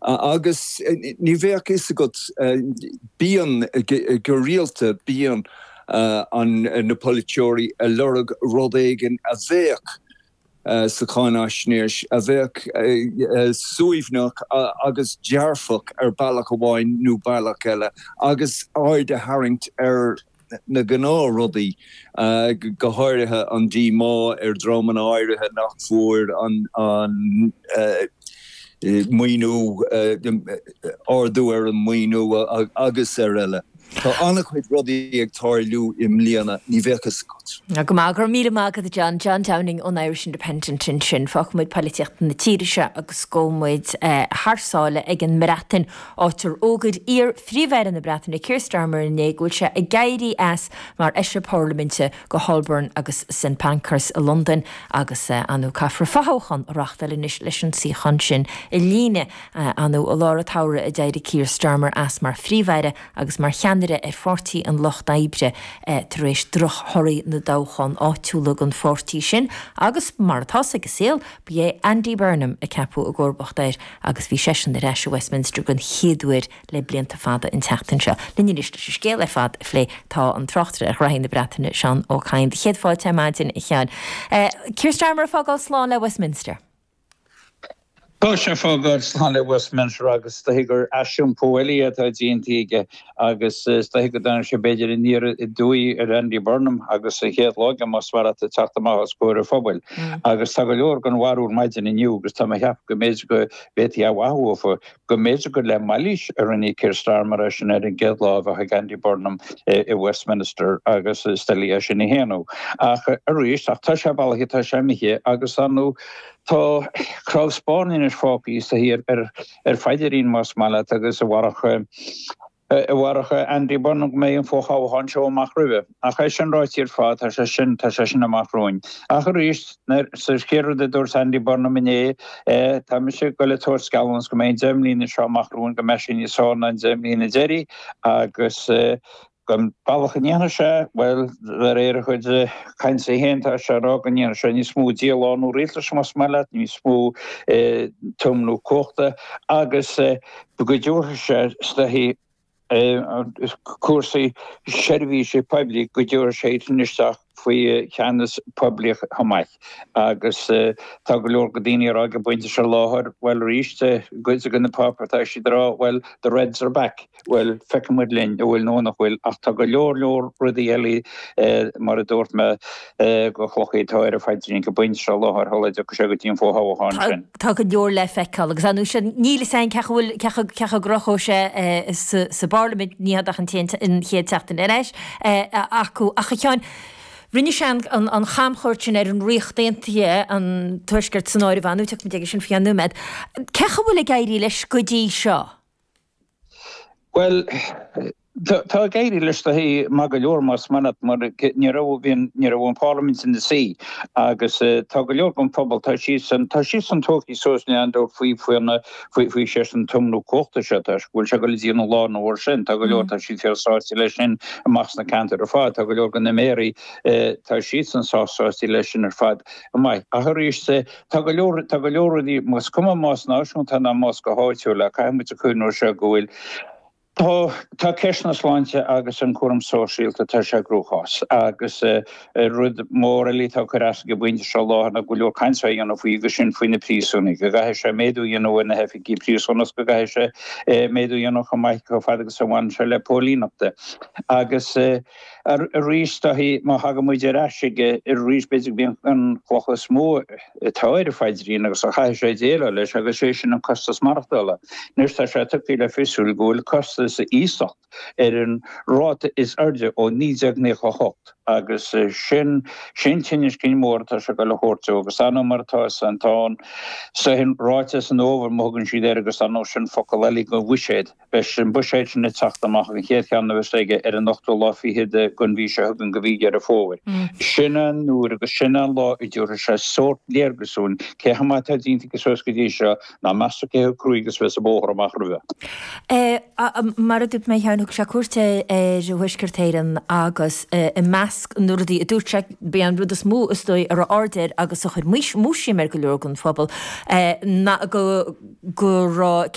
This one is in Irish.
Agus ní bheadh fhios agat, bíonn, go rialta, bíonn an, na polaiteoirí ag lorg rud éigin a bheadh sa cháinaisnéis, a bheadh suaimhneach agus dearfach ar bealach amháin nó bealach eile agus aird a tharraingt ar na gnáthrudaí, go háirithe an díomá ar dhreamanna áirithe nach bhfuair an maoiniú, ardú ar an maoiniú agus araile. Tá an-chuid rudaí ag tarlú i mbliana, ní bheadh fhios agat. Go maith, go raibh míle maith agat a John. John Downing ón Irish Independent ansin. Fágfaidh muid poilitíocht na tíre seo agus gabhfaidh muid thar sáile ag an mBreatain, áit ar fhógair iar-Phríomh-Aire na Breataine Keir Starmer inné go bhfuil sé ag éirí as mar Fheisire Parlaiminte go Holborn agus St Pancras i Londain agus ar ndóigh caithfear fothoghchán a reáchtáil anois leis an suíochán sin a líonadh. Ar ndóigh i lár an tsamhraidh a d'éirigh Keir Starmer as mar Phríomh-Aire agus mar cheannaire ar Pháirtí an Lucht Oibre tar éis drochthorthaí na dtoghchán áitiúla don pháirtí sin agus, mar atá ag an saol, ba é Andy Burnham a ceapadh i gcomharbacht air agus bhí seisean ar ais i Westminster den chéad uair le blianta fada an tseachtain seo. Linn anois leis an scéal ar fad a phlé tá an tráchtaire ar ghraithí na Breataine, Seán Ó Cadhain. Do chéad fáilte ar maidin, a Sheáin. Keir Starmer ag fágáil slán le Westminster. Tá sé ag fágáil slán le Westminster agus is dóichí gur aisiompú eile atá déanta aige agus is dóichí go dtáinig sé b'fhéidir aniar aduaidh ar Andy Burnham agus an chéad lá aige más maith leat ag teacht amach os comhair an phobail. Agus tá go leor den bharúil maidin inniu agus tá mé ag ceapadh go mb'fhéidir go bhféadfaí a mhaith uafa go mb'fhéidir gur le mailís a rinne Keir Starmer é sin ar an gcéad lá a bheadh ag Andy Burnham i Westminster agus is doiligh é sin a shéanadh. Ach arís, ach tá sé bailithe, tá sé imithe agus ar ndóigh tá cnámh spairne anois fágtha is dóichí ar ar phaidrín más maith leat agus amharc amharc Andy Burnham go mbeidh an fothoghchán seo amach roimhe. Ach é sin ráite ar fad, tá sé sin, tá sé sin amach romhainn. Ach arís, sa chéad rud a dúirt Andy Burnham inné, tá mise ag goil ag tabhairt geallúnas go mbeidh an 10 mbliana seo amach romhainn, go mbeidh sé níos fearr ná an 10 mbliana deiridh agus an bealach a ndéanfaidh sé, bhuel, de réir a chuid cainte féin, tá sé ag rá go ndéanfaidh sé níos mó dílárnú rialtais, más maith leat, níos mó tiomnú cumhachta agus go dtabharfaidh sé, is dóichí, cúrsaí seirbhíse poiblí go dtabharfaidh sé iad sin isteach faoi cheannas poiblíoch chomh maith. Agus tá go leor de daoine ag rá ag an bpointe seo láthair, bhuel arís, cuid de na páipéir tá siad ag rá, bhuel, the Reds are back. Bhuel, feicfidh muid linn an bhfuil nó nach bhfuil, ach tá go leor leor rudaí eile, mar a dúirt mé, de chlocha atá ar a phaidrín ag an bpointe seo láthair shula dtiocfaidh sé go dtí an fothoghchán sin. Tá go leor le feiceáil agus ar ndóigh sin níl fhios againn cé acu bhfuil cé acu cé acu gcruthóidh sé sa sa bParlaimint ní hea ach an an chéad tseachtain ar ais acu ach a Sheáin rinne sé an an an chamchuairt sin ar an Ríocht Aontaithe an Tuaisceart san áireamh ar ndóigh tiocfaidh muid aige sin faoi cheann nóiméad. Cé acu bhfuil ag éirí leis go dtí seo? Bhuel, tá ag éirí leis do maith go leor más maith leat mar ní raibh, bhí an, ní raibh an Pharlaimint ina suí agus tá go leor den phobal, tá siadsan, tá siadsan tógtha suas gan dabht faoi, faoi na, faoi, faoi sé an tiomnú cumhachta seo, tá, go bhfuil sé ag dul a dhéanamh lá an uair sin, tá go leor, tá siad fíor sásta leis sin amach sna ceantair ar fad, tá go leor de na méaraí, tá siadsan sásta leis sin ar fad. Maith. Ach arís, Tá go leor, tá go leor rudaí, is cuma más náisiúnta ná más go háitiúil é, caithfidh muid a cuimhniú air seo go bhfuil, tá, tá ceist na sláinte agus an cúram sóisialta, tá sé i gcruachás agus rud mór eile atá ag cur as ag an bpointe seo láthair ná go leor cainte á dhéanamh faoi agus sin faoi na príosúnaigh, go gcaithfidh sé méadú a dhéanamh ar na hoifigí príosúnach, go gcaithfidh sé méadú a dhéanamh chomh maith chomh fada agus a bhaineann sé le póilíneachta agus. Arís, má thagann muid ar ais aige arís, b'fhéidir go mb'í an chloch is mó atá ar a phaidrín agus a chaithfidh sé déileáil leis agus sé sin an costas maireachtála. Anois tá sé tugtha le fios go bhfuil costas iasacht ar an ráta is airde ó 1998 agus sin sin tinneas cinn mór atá sé ag dul a thabhairt dó agus ar ndóigh mar atá is an tá an ráiteas an fhómhair má thugann siad air agus ar ndóigh sin focal eile don bhuiséad. Beidh an buiséad sin ag teacht amach, an chéad cheann a bheas aige, ar an ochtú lá fichead den mhí seo chugainn, de mhí Dheireadh Fómhair. Sin an uair agus sin an lá a dtabharfaidh sé sórt léargas dúinn cé chomh maith atá déanta aige suas go dtí seo, ná meas tú cé chomh cruaidh agus a bheas an bóthar amach roimhe. Mar a dúirt mé cheana, thug sé cuairt ar Thuaisceart Éireann agus i measc na rudaí a dúirt sé, b'é an rud is mó is dóigh a raibh aird air agus a chuir múisiam ar go leor den phobal ná go raibh.